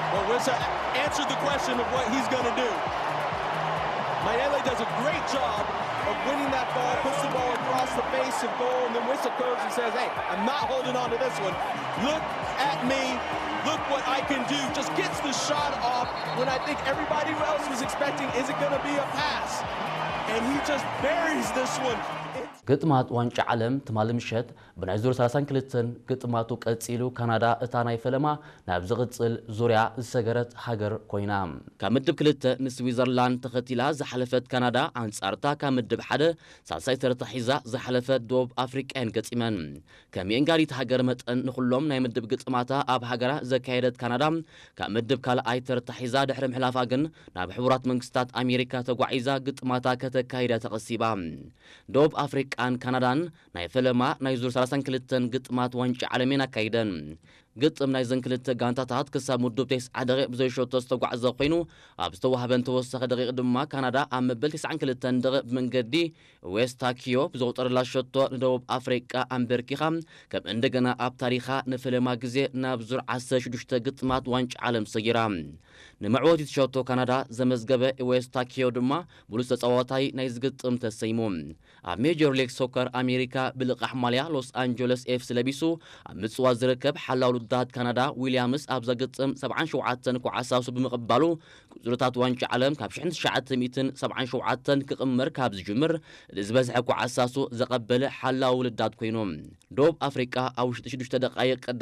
Well, Wissa answered the question of what he's going to do. Mayele does a great job of winning that ball, puts the ball across the face of goal, and then Wissa goes and says, "Hey, I'm not holding on to this one. Look at me. Look what I can do." Just gets the shot off when I think everybody else was expecting, is it going to be a pass? And he just buries this one. ግጥማት ዋንጫ ዓለም ትማሊ ምሸት ብናይ ዙር ሰላሳን ክልተን ግጥማቱ ቀጺሉ፣ ካናዳ እታ ናይ ፈለማ ናብ ዝቕጽል ዙርያ ዝሰገረት ሃገር ኮይና። ካብ ምድብ ክልተ ንስዊዘርላንድ ተኸቲላ ዝሓለፈት ካናዳ፣ ኣንጻርታ ካብ ምድብ ሓደ ሳልሳይ ተርታ ሒዛ ዝሓለፈት ደቡብ ኣፍሪቃ እየን ገጢመን። ከም የእንጋዲት ሃገር መጠን ንኹሎም ናይ ምድብ ግጥማታ ኣብ ሃገራ ዘካየደት ካናዳ፣ ካብ ምድብ ካልኣይ ተርታ ሒዛ ድሕሪ ምሕላፋ ግን ናብ ሕቡራት መንግስታት ኣሜሪካ ተጓዒዛ ግጥማታ ከተካይዳ ተቐሲባ። ደቡብ ኣፍሪቃን ካናዳን ናይ ፈለማ ናይ ዙር ሰላሳን ክልተን ግጥማት ዋንጫ ዓለሜን ኣካይደን። ግጥም ናይዘን ክልተ ጋንታታት ክሳብ ምዱብ ተስዓ ደቂቕ ብዘይሸቶ ዝተጓዕዘ ኮይኑ፣ ኣብ ዝተዋህበን ተወሳኺ ደቂቕ ድማ ካናዳ ኣብ መበል ተስዓን ክልተን ደቂቕ ብመንገዲ ዌስታኪዮ ብዘቑጠረላ ሸቶ ንደቡብ ኣፍሪቃ ኣንበርኪኻ፣ ከም እንደገና ኣብ ታሪኻ ንፈለማ ግዜ ናብ ዙር ዓሰርተ ሽዱሽተ ግጥማት ዋንጫ ዓለም ሰጊራ። ንመዕወቲት ሸቶ ካናዳ ዘመዝገበ ዌስታኪዮ ድማ ብሉጽ ተጻዋታይ ናይ ዝግጥም ተሰይሙ። ኣብ ሜጀር ሊግ ሶከር ኣሜሪካ ብልቓሕ ማልያ ሎስ ኣንጀለስ ኤፍሲ ለቢሱ ኣብ ምጽዋት ዝርከብ ሓላው ልዳት ካናዳ ዊልያምስ ኣብዛ ግጥም ሰብዓን ሸውዓተን ኳዓሳሱ ብምቕባሉ፣ ቁጽርታት ዋንጫ ዓለም ካብ ሽሕን ትሽዓተ ሚእትን ሰብዓን ሸውዓተን ክቕመር ካብ ዝጅምር እቲ ዝበዝሐ ኳዓሳሱ ዘቐበለ ሓላው ልዳት ኮይኑ። ደቡብ ኣፍሪቃ ኣብ ውሽጢ ሽዱሽተ ደቃይቕ